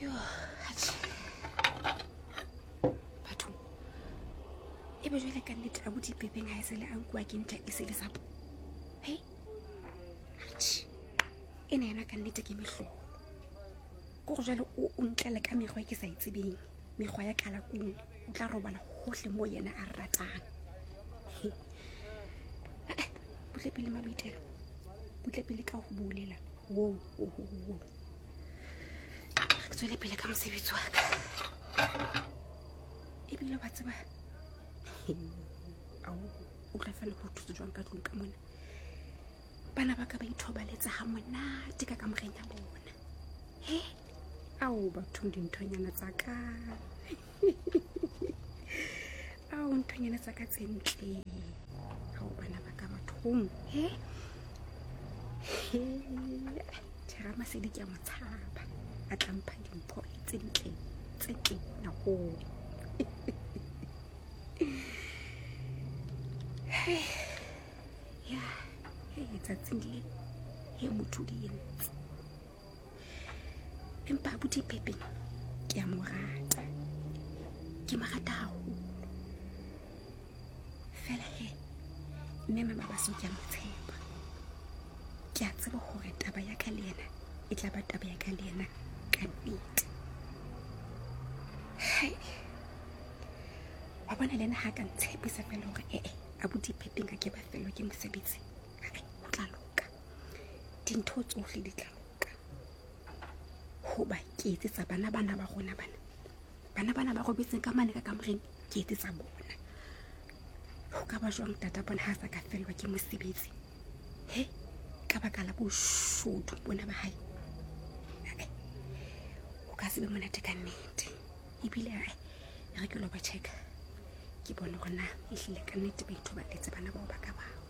Yo, atjhe. Batho. E be jwale ka nnete abuti Pepeng ha e sele a nkuwa ke ntja e sele sapo. He? Atjhe. Ena yona ka nnete ke mehlolo. Ko go jwale o o ntlela ka mekgwa e ke sa e tsebeng. Mekgwa ya kalakung. O tla robala hohle moo yena a ratang. He. Eh, butle pele maboitelo. Butle pele ka ho bolela. Wo, wo, wo, wo. Ke tswele pele ka mosebetsi wa ka. Ebile wa tseba. Ao, o tla fela go thusa jwang ka tlung ka mona. Bana ba ka ba ithobaletsa ha monate ka kamoreng ya bona. He? Ao bathong dinthonyana tsa ka. Ao nthonyana tsa ka tse ntle. Ao bana ba ka bathong. He? He. Tjhe, Ramasedi ke a mo tshaba. A tla mpha dimpho tse ntle tse ntle haholo. Hey. Ya, hey, tsatsing le he motho di entse. Empa abuti Pepeng ke a mo rata. Ke mo rata haholo. Fela he, mme mama Baso ke a mo tshepa. Ke a tseba hore taba ya ka le yena e tla ba taba ya ka le yena ka nnete. Hai. Wa bona le ena ha ka ntshepisa fela hore ee abuti Pepeng a ke ba fellwa ke mosebetsi. Hai, ho tla loka. Dintho tsohle di tla loka. Hoba ke etsetsa bana bana ba rona bana. Bana bana ba robetseng ka mane ka kamoreng ke etsetsa bona. Ho ka ba jwang tata bona ha sa ka fellwa ke mosebetsi? He, ka baka la boshodu bona ba hae. Ae, ho ka se be monate ka nnete. Ebile ae, e re ke lo ba check. Ke bone hore na ehlile ka nnete ba ithobaletse bana bao ba ka bao.